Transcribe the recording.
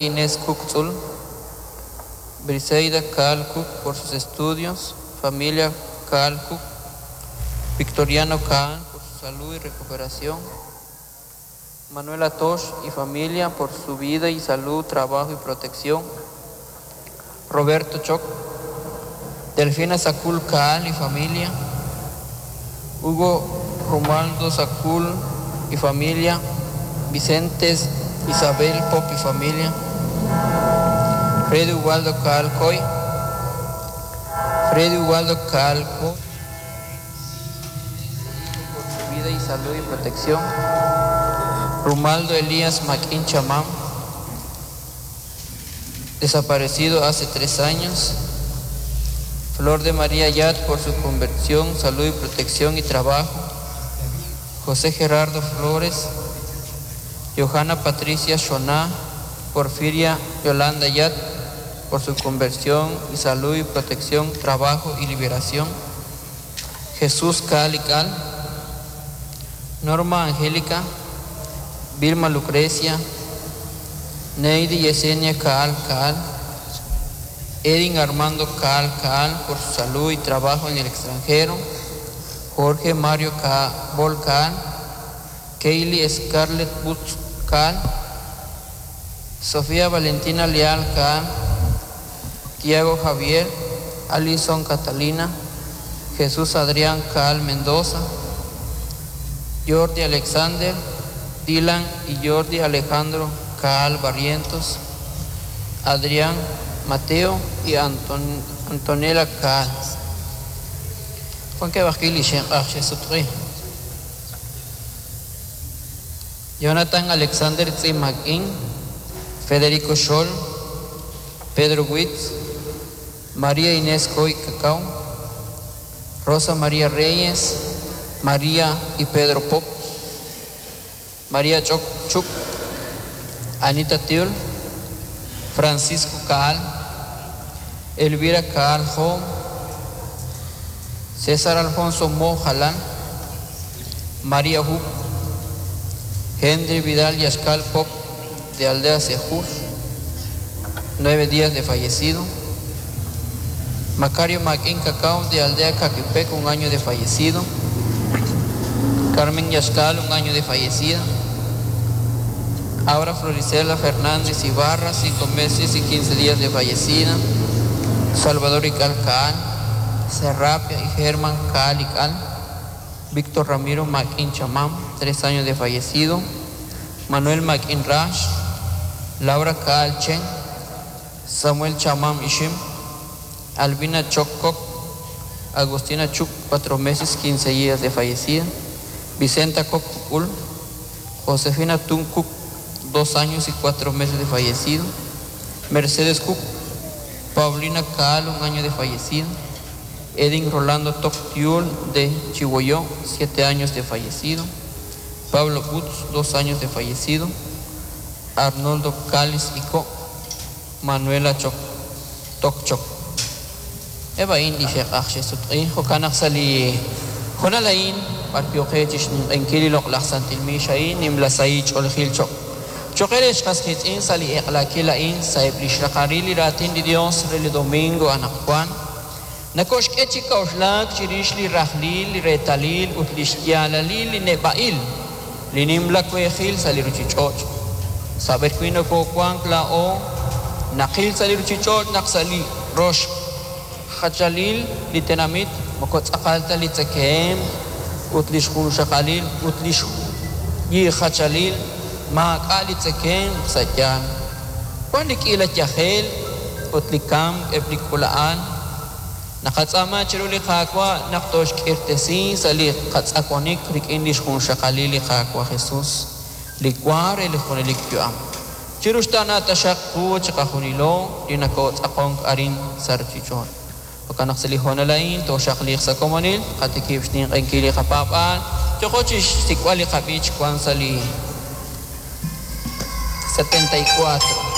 Inés Cook Tzul, Briseida Kaal Cook por sus estudios, familia Kaal Cook, Victoriano Kaal por su salud y recuperación, Manuela Tosh y familia por su vida y salud, trabajo y protección, Roberto Choc, Delfina Sacul Kaal y familia, Hugo Romaldo Sacul y familia, Vicente Isabel Pop y familia, Freddy Ubaldo Kaal Coy, Freddy Ubaldo Kaal Coy, por su vida y salud y protección, Rumaldo Elías Maquín Chamán, desaparecido hace 3 años, Flor de María Yat por su conversión, salud y protección y trabajo, José Gerardo Flores, Johanna Patricia Shoná, Porfiria Yolanda Yat por su conversión y salud y protección, trabajo y liberación, Jesús Cal y Cal, Norma Angélica, Vilma Lucrecia, Neidi Yesenia Caal Caal, Edin Armando Caal Caal por su salud y trabajo en el extranjero, Jorge Mario Bol Caal, Kaylee Scarlett Butz Caal, Sofía Valentina Leal Caal, Tiago Javier, Alison Catalina, Jesús Adrián Caal Mendoza, Jordi Alexander, Dylan y Jordi Alejandro Caal Barrientos, Adrián Mateo y Antonella Caal. Juan que Jonathan Alexander Tzimaquín, Federico Scholl, Pedro Witz, María Inés Coy Cacao, Rosa María Reyes, María y Pedro Pop, María Choc Chuc, Anita Tiul, Francisco Caal, Elvira Caal Jo, César Alfonso Mo Jalán, María Huc, Henry Vidal Yascal Pop de Aldea Sejús, 9 días de fallecido. Macario Maquín Cacao de Aldea Caquipec, 1 año de fallecido. Carmen Yascal, 1 año de fallecida. Aura Floricela Fernández Ibarra, 5 meses y 15 días de fallecida. Salvador Ical Caal, Serapia y Germán Caal Ical. Víctor Ramiro Maquín Chamán, 3 años de fallecido. Manuel Maquín Rash, Laura Caal Chen, Samuel Chamán Ishim, Albina Choccoc, Agustina Chuc, 4 meses, 15 días de fallecida. Vicenta Coc Ul, Josefina Tuncuc, 2 años y 4 meses de fallecido. Mercedes Cook, Paulina Caal, 1 año de fallecida. Edin Rolando Toctiul de Chihuahua, 7 años de fallecido. Pablo Butz, 2 años de fallecido. Arnoldo Cáliz y Co, Manuela Choc, Tokchok. Eva indi sheq jokanaq sali jonalain barpioqechix ninq'enkili loq'laj santil miishain nimlasai ch'oljil choq. Choqerex qasqitz'in sali eqlakilain saeb lixraqaril li raatin li Dios re li domingo anaqwan. Nakoxk'e chik'a'uxlaak chirix li rajlil li reetalil ut li xyaalalil li neb'a'il li nimla kuejil sa li ruchich'och'. Saber wi nokowank laa'o naqil sa li ruchich'och' naq sa li rox jachalil li tenamit moko tz'aqal ta li tzekeem ut li xjunxaqalil ut li xyijachalil maak'a' li tzekeem sa' yaal. Wan li k'iila yajel ut li kamk eb' li k'ula'an. Naqatz'aama chiru li Qaawa' naq toxk'irtesi sa' li qatz'akonik rik'in li xjunxaqalil li Qaawa' Jesus, li wa re li junelik yu'am. Chiru xtana taxaq qu chiqajunilo li nakotz'aqonk arin sa' ruchich'och'. Jo'kan naq sa' li honalain toxaqliq sa' komonil, qatikib' xninq'enkil li qapaab'aal, yoqo chixsik'b'al li qab'ich wan sa' li 74.